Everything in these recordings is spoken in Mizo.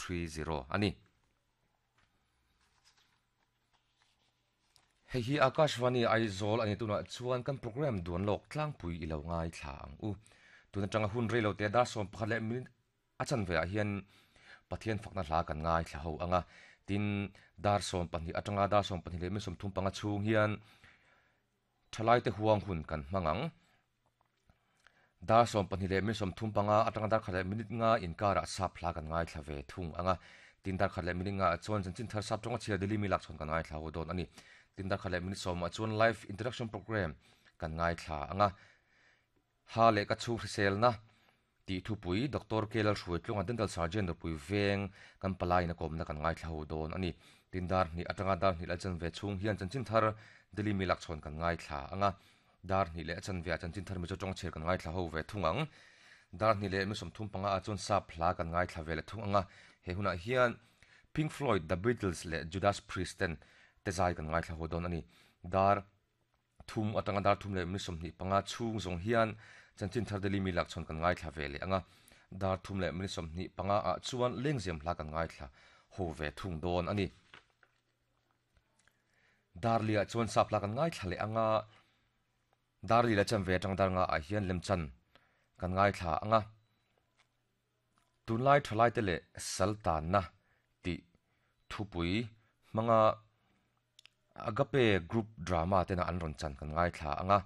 30 a ni. Hei hi Akashvani Aizawl a ni tunah chuan kan programme duan lawk tlangpui i lo ngaithla ang u. Tun atanga hun rei lo te dar 11 leh minute a chanve ah hian Pathian fakna hla kan ngaithla ho ang a, tin dar 12 atanga dar 12 leh minute 35 chhung hian Thalaite huang hun kan hmang ang. Dar 12 leh minute 35 atanga dar khat leh minute nga inkarah sap hla kan ngaithla ve thung ang a. Tin dar khat leh minute nga ah chuan chanchin thar sap tawnga chhiar Delhi mi lak chhawn kan ngaithla ho dawn a ni. Tin dar khat leh minute sawmah chuan live interaction programme kan ngaithla ang a. Ha leh ka chhung hriselna tih thupui Doctor K Lalhruaitlunga Dental Surgeon Ropui Veng kan palaiin a kawmna kan ngaithla ho dawn a ni. Tin dar hnih atanga dar hnih leh a chanve chhung hian chanchin thar Delhi mi lakchhawn kan ngaithla ang a. Dar hnih leh a chanve ah chanchin thar Mizo tawng chhiar kan ngaithla ho ve thung ang. Dar hnih leh mi 35 ah chuan sap hla kan ngaithla ve leh thung ang a. He hunah hian Pink Floyd, The Beatles leh Judas Priest ten te zai kan ngaithla ho dawn a ni. Dar Thum atanga dar thum leh minute 25 chhung zawng hian chanchin thar Delhi mi lakchhawn kan ngaithla ve leh ang a, dar thum leh minute 25 ah chuan lengzem hla kan ngaithla ho ve thung dawn a ni. Dar li ah chuan sap hla kan ngaithla leh ang a, dar li leh chanve atang dar nga ah hian lemchan kan ngaithla ang a. Tunlai thalaite leh sal tanna tih thupui hmanga Agape Group Drama tena an rawn chan kan ngaithla ang a,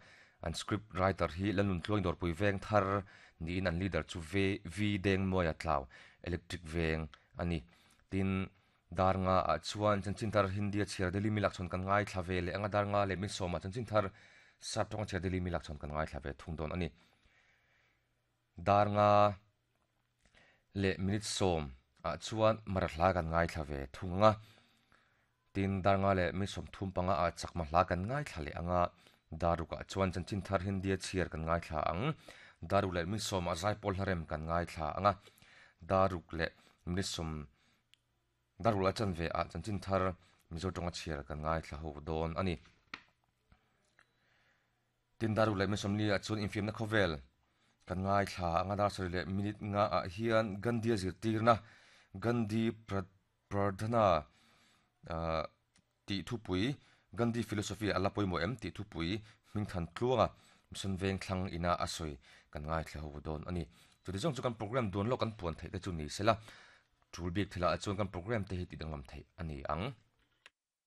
an script writer hi Lalnuntluang Dawrpui Veng thar niin an leader chu V Dengmuaia Tlau Electric Veng a ni. Tin, dar nga ah chuan chanchin thar Hindi a chhiar Delhi mi lakchhawn kan ngaithla ve leh ang a, dar nga leh min sawmah chanchin thar Sap tawng a chhiar Delhi mi lakchhawn kan ngaithla ve thung dawn a ni. Dar nga leh minute sawm ah chuan mara hla kan ngaithla ve thung ang a, tin dar nga leh minute 35 ah chakma hla kan ngaithla leh ang a, dar ruk ah chuan chanchin thar Hindi a chhiar kan ngaithla ang, dar ruk leh minute sawm ah zaipawl hla rem kan ngaithla ang a, dar ruk leh minute sawm dar ruk leh a chanve ah chanchin thar Mizo tawnga chhiar kan ngaithla ho dawn a ni. Tin dar ruk leh minute 40 ah chuan infiamna khawvel kan ngaithla anga dar sarih leh minute nga ah hian Gandhi a zirtirna Gandhi Pradhana ah tih thupui Gandhi philosophy a la pawimawh em tih thupui hmingthan tluanga Mission Vengthlang ina a sawi kan ngaithla ho dawn a ni. Chuti zawng chu kan program duan lawk kan puan theih te chu ni sela tul bik thilah chuan kan program te hi tih danglam theih a ni ang.